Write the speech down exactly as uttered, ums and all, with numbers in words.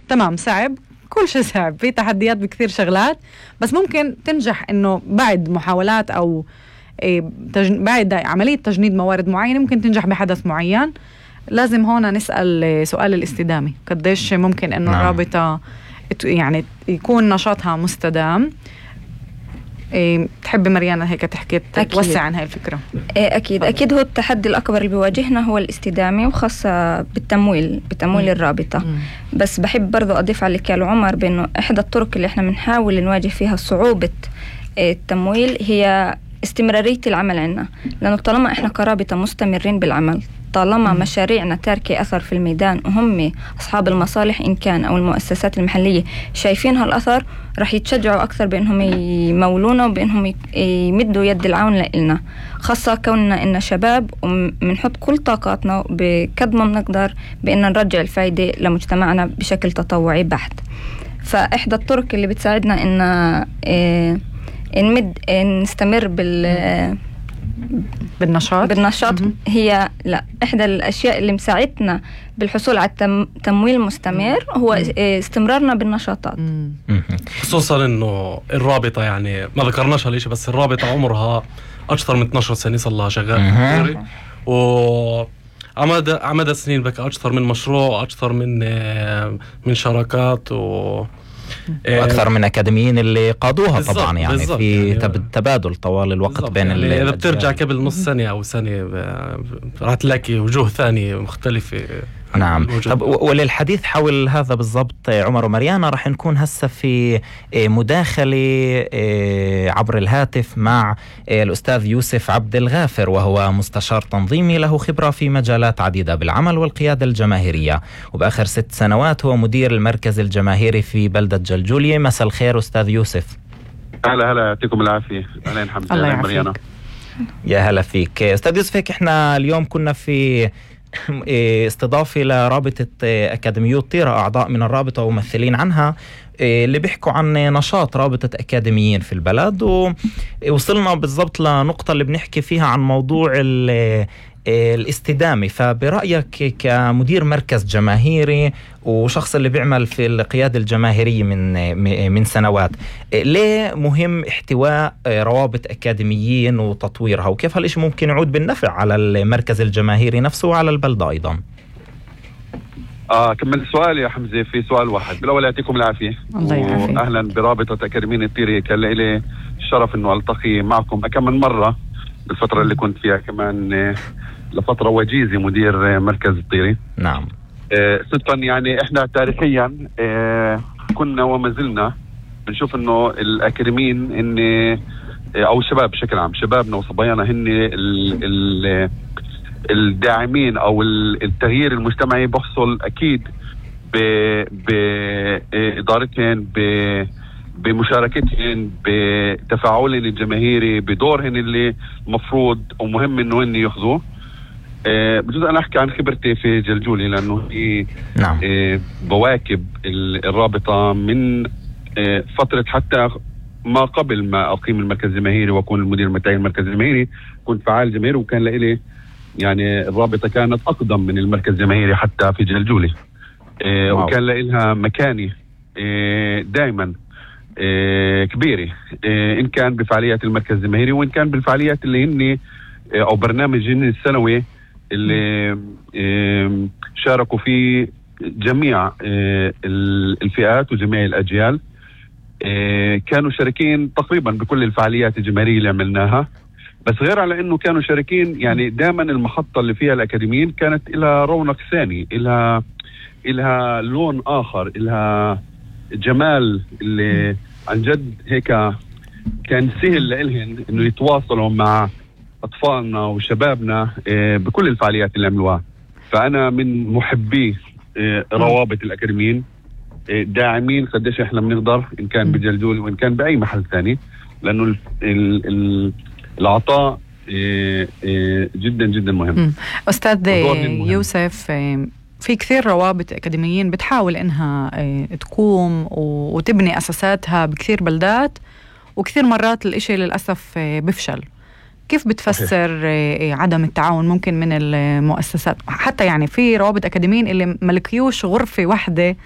تمام صعب، كل شيء صعب، في تحديات بكثير شغلات، بس ممكن تنجح إنه بعد محاولات أو بعد عملية تجنيد موارد معينة ممكن تنجح بحدث معين. لازم هون نسأل سؤال الاستدامة، قديش ممكن إنه نعم. الرابطة يعني يكون نشاطها مستدام. إيه تحبي مريانا هيك تحكي توسع عن هاي الفكرة؟ إيه أكيد أكيد هو التحدي الأكبر اللي بيواجهنا هو الاستدامة، وخاصة بالتمويل بتمويل م. الرابطة م. بس بحب برضو أضيف على اللي قاله عمر بأنه إحدى الطرق اللي إحنا بنحاول نواجه فيها صعوبة التمويل هي استمرارية العمل عنا، لأنه طالما إحنا كرابطة مستمرين بالعمل، طالما م. مشاريعنا تاركة أثر في الميدان وهم أصحاب المصالح إن كان أو المؤسسات المحلية شايفين هالأثر، رح يتشجعوا أكثر بأنهم يمولونا وبأنهم يمدوا يد العون لنا، خاصة كوننا إن شباب ومنحط كل طاقاتنا بقد ما بنقدر بأن نرجع الفايدة لمجتمعنا بشكل تطوعي بحت. فإحدى الطرق اللي بتساعدنا إن إيه نمد نستمر بال بالنشاط بالنشاط م- هي لا إحدى الأشياء اللي مساعدتنا بالحصول على التمويل مستمر هو م- استمرارنا بالنشاطات، م- خصوصا إنه الرابطة يعني ما ذكرناش هالشيء، بس الرابطة عمرها أكثر من اثناشر سنة صار لها شغال، و عمد عمد سنين بك أكثر من مشروع، أكثر من من شراكات و واكثر من اكاديميين اللي قادوها طبعا يعني في يعني تبادل طوال الوقت بين يعني اذا بترجع قبل نص سنه او سنه راح تلاقي وجوه ثانيه مختلفه. نعم. طب وللحديث حول هذا بالضبط عمر ومريانا راح نكون هسه في مداخلة عبر الهاتف مع الأستاذ يوسف عبد الغافر، وهو مستشار تنظيمي له خبرة في مجالات عديدة بالعمل والقيادة الجماهيرية، وبآخر ست سنوات هو مدير المركز الجماهيري في بلدة جلجولية. مساء الخير أستاذ يوسف. هلا هلا يعطيكم العافية. أهلا حمزة. الله يعافيك. يا هلا فيك أستاذ يوسف. هيك احنا اليوم كنا في استضافة لرابطة أكاديميو طيرة، أعضاء من الرابطة وممثلين عنها اللي بيحكوا عن نشاط رابطة أكاديميين في البلد، ووصلنا بالضبط لنقطة اللي بنحكي فيها عن موضوع الاستدامة. فبرأيك كمدير مركز جماهيري وشخص اللي بيعمل في القيادة الجماهيرية من من سنوات، ليه مهم احتواء روابط أكاديميين وتطويرها، وكيف هالإشي ممكن يعود بالنفع على المركز الجماهيري نفسه وعلى البلدة أيضا؟ آه كمل السؤال يا حمزة في سؤال واحد. بالأول يعطيكم العافية وأهلا برابطة أكاديميين الطيرة. كان لي الشرف إنه ألتقي معكم كم من مرة الفترة اللي كنت فيها كمان لفترة وجيزة مدير مركز الطيرة. نعم. آه صدقا يعني إحنا تاريخيا آه كنا وما زلنا بنشوف إنه الأكاديميين إن آه أو الشباب بشكل عام، شبابنا وصبايانا هن ال ال الداعمين أو التغيير المجتمعي بحصل أكيد بإدارتهن، بمشاركتهن، بتفاعلهن الجماهيري، بدورهن اللي مفروض ومهم إنه هن يأخذوه. أه بجوز أنا أحكي عن خبرتي في جلجولي لأنه هي نعم. أه بواكب الرابطة من أه فترة حتى ما قبل ما أقيم المركز الجماهيري وأكون المدير متاعي المركز الجماهيري، كنت فعال جماهيري، وكان لإلي يعني الرابطة كانت أقدم من المركز الجماهيري حتى في جلجولي. أه وكان لها مكاني أه دائما أه كبيرة، أه إن كان بفعاليات المركز الجماهيري وإن كان بالفعاليات اللي هن أه أو برنامج هن السنوي اللي أه شاركوا فيه جميع أه الفئات وجميع الأجيال. أه كانوا شاركين تقريبا بكل الفعاليات الجماهيرية اللي عملناها، بس غير على انه كانوا شاركين يعني دائما المحطة اللي فيها الأكاديميين كانت لها رونق ثاني، لها لها لون آخر، لها جمال اللي عن جد هيك كان سهل لإلهن انه يتواصلوا مع أطفالنا وشبابنا بكل الفعاليات اللي عملوها. فأنا من محبي روابط الأكاديميين، داعمين قديش احنا بنقدر إن كان بجلجول وإن كان بأي محل ثاني، لأنه ال ال ال العطاء جدا جدا مهم. أستاذ يوسف، في كثير روابط أكاديميين بتحاول إنها تقوم وتبني أساساتها بكثير بلدات، وكثير مرات الإشي للأسف بفشل. كيف بتفسر عدم التعاون ممكن من المؤسسات؟ حتى يعني في روابط أكاديميين اللي ملكيوش غرفة واحدة